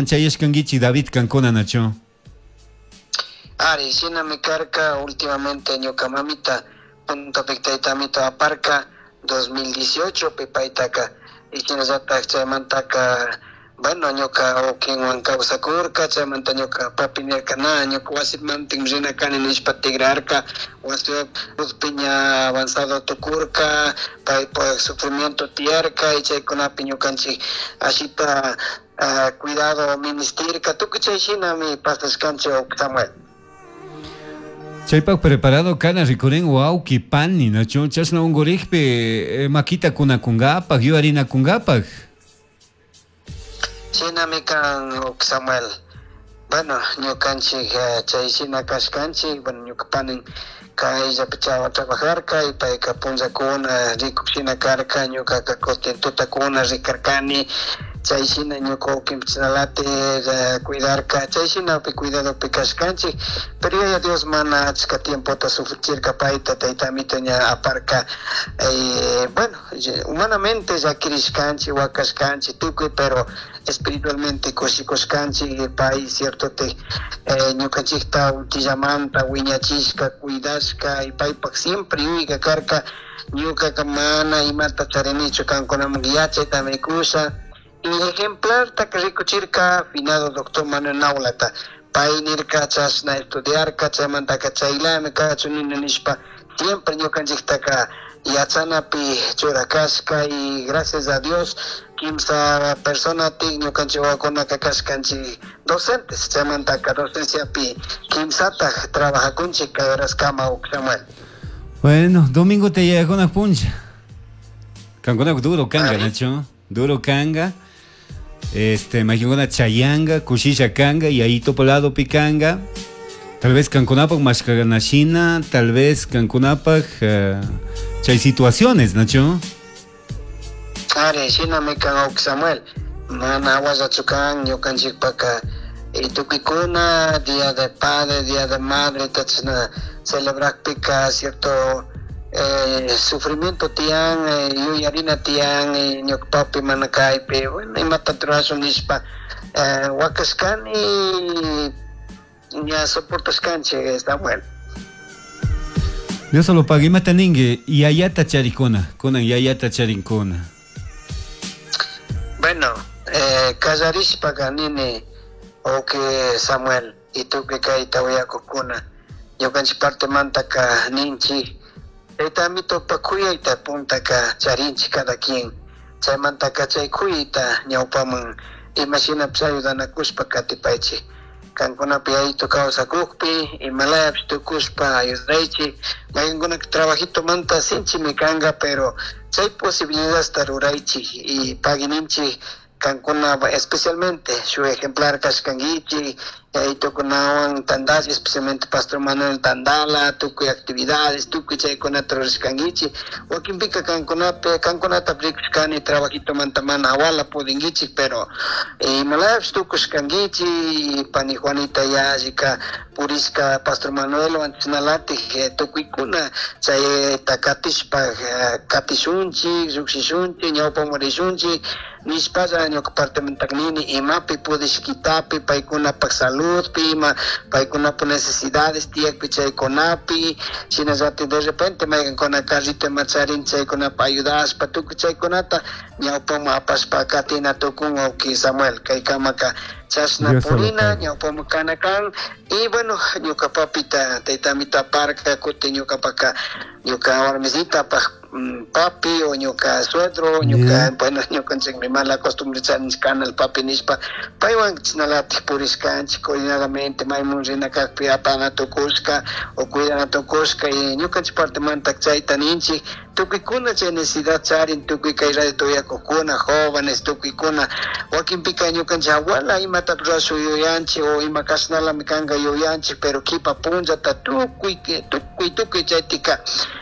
Puntoman chayashkankichik David kankuna, nachu? Ari, shinami karka. Últimamente ñuka mamita puntapik taytamito aparka 2018 pi paytaka, y shinallatak chaymantaka, bueno, ñuka wawkinwan kawsakurka. Chaymanta ñuka papi nirka: "Na, ñuka wasimantin rina kani", nishpa tigrarka. Wasi ña avanzado tukurka, paypak sufrimiento tiyarka, y chaykunapi ñukanchik ashita cuidado ministirka. Tukuy chay shinami pasashkanchik, Samuel. Chaypak preparado kana rikurin wawki pani, nachu? Chashna unkurikpi makita kunakunkapak, yuyarinakunkapak. Shinami kan, Samuel. Bueno, ñukanchik chay shina kashkanchik. Bueno, ñuka panin kayllapi chawa trabajarka y payka punllakuna rikuk shina karka, ñukaka kutin tutakuna rikarkani. Chay shina ñuka wawkinpish chashnalatik cuidarka. Chay shinapi cuidadopi kashkanchik, pero Yaya Dios mana achka tiempota sufrichirka payta, taytamito ña aparka. Bueno, humanamente llakirishkanchik, wakashkanchik tukuy, pero espiritualmente kushikushkanchik. Pay cierto te ñukanchikta uchillamanta wiñachishka, cuidashka, y paypak siempre yuyayka karka: "Ñukaka mana imata charinichu, kankunaman yachaytami kusha". Y ejemplarta rikuchirka finado doctor Manuel Naulata. Pay nirka chashna estudiarka, chaymantaka chaylami kachun nini nishpa siempre ñukanchiktaka yachanapi churakashka. Y gracias a Dios kimsa personatik ñukanchik wawakunaka kashkanchik docentes. Chaymantaka docenciapi kimsatak trabajakunchik kay horaskama, Samuel. Bueno, domingo te yayakuna punlla. Kankuna duro kanga, nachu? Duro kanga. Mayqankuna chayanga, kushisha kanga, yayitopa ladopi kanga. Tal vez kankunapak mashkanashina, tal vez kankunapak chay situaciones, nachu? Ari, shinami kan, Samuel. Mana awallachu kan ñukanchikpaka. Y tukuykuna Día de Padre, Día de Madre chashna celebrakpika cierto sufrimiento tiyan, yuyarina tiyan, ñuka papi mana kaypi, bueno, imata rurashun nishpa wakashkani, ña soportashkanchik, Samuel. Dios solo paga. Imata ninki yayata charikuna, kunan yayata charinkuna? Bueno, kallarishpaka nini, okay Samuel, y tukuy kayta uyakukuna, ñukanchik partemantaka ninchik: tayta amitopa kuyayta puntaka charinchik cada quien. Chaymantaka chay kuyayta ñawpaman imashinapish ayudanakushpa katipaychik. Kankunapi yayito kawsakukpi, imalayapish tukushpa ayudaychik. Maykankunaka trabajitomanta sinchimi kanka, pero chay posibilidadta ruraychik y paguininchik. Kankuna especialmente shu ejemplar kashkankichik, yayitukunawan tandash, especialmente Pastor Manuel Tandala, tukuy actividades, tukuy chaykunata rurashkankichik. Wakinpika kankunapi kankunata rikushkani trabajitomanta mana awala pudinkichik, pero imalayapish tukushkankichik. Pani Juanita yallika purishka Pastor Manuelwan, chashnalatik tukuykuna chayta katishpa katishunchik, llukshishunchik, ñawpaman rishunchik nishpalla ñuka partemantak nini: imapi pudishkitapi, paykunapak saludpi, ima paykunapak necesidades tiyakpi chaykunapi, shinallatik de repente maykankuna carrito ima charin chaykunapa ayudashpa, tukuy chaykunata ñawpaman apashpa katina tukun. Wawki Samuel, kaykamaka chashna purina, ñawpaman kana kan. Y bueno, ñuka papita taytamito aparka, kutin ñukapaka ñuka warmisitapak papi o ñuka suegro, ñuka, bueno, ñukanchikmi mala costumbre charinchik kana el papi nishpa, paywan chashnalatik purishkanchik coordinadamente, maymun rina kakpi apana tukushka o cuidana tukushka. Y ñukanchik partemanta chayta ninchik: tukuykuna chay necesidad charin, tukuy kay radio tuyakukuna, jóvenes, tukuykuna. Wakinpika ñukanchik abuela imata rurashun yuyanchik o ima kashnalami kanka yuyanchik, pero kipa punllata tukuy tukuy tukuy chaytika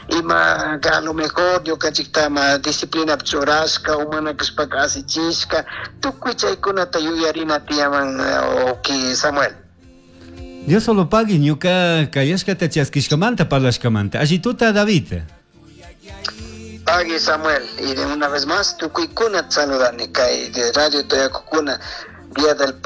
ima a lo mejor ñukanchikta ma disciplinapi churashka o mana kashpaka asichishka, tukuy chaykunata yuyarina tiyaman, wawki Samuel. Dios solo pagui ñuka kayashkata chaskishkamanta, parlashkamanta. Allituta, David. Pagui, Samuel, y de una vez más tukuykuna saludani kay de radio tuyakukuna, Día del Padre.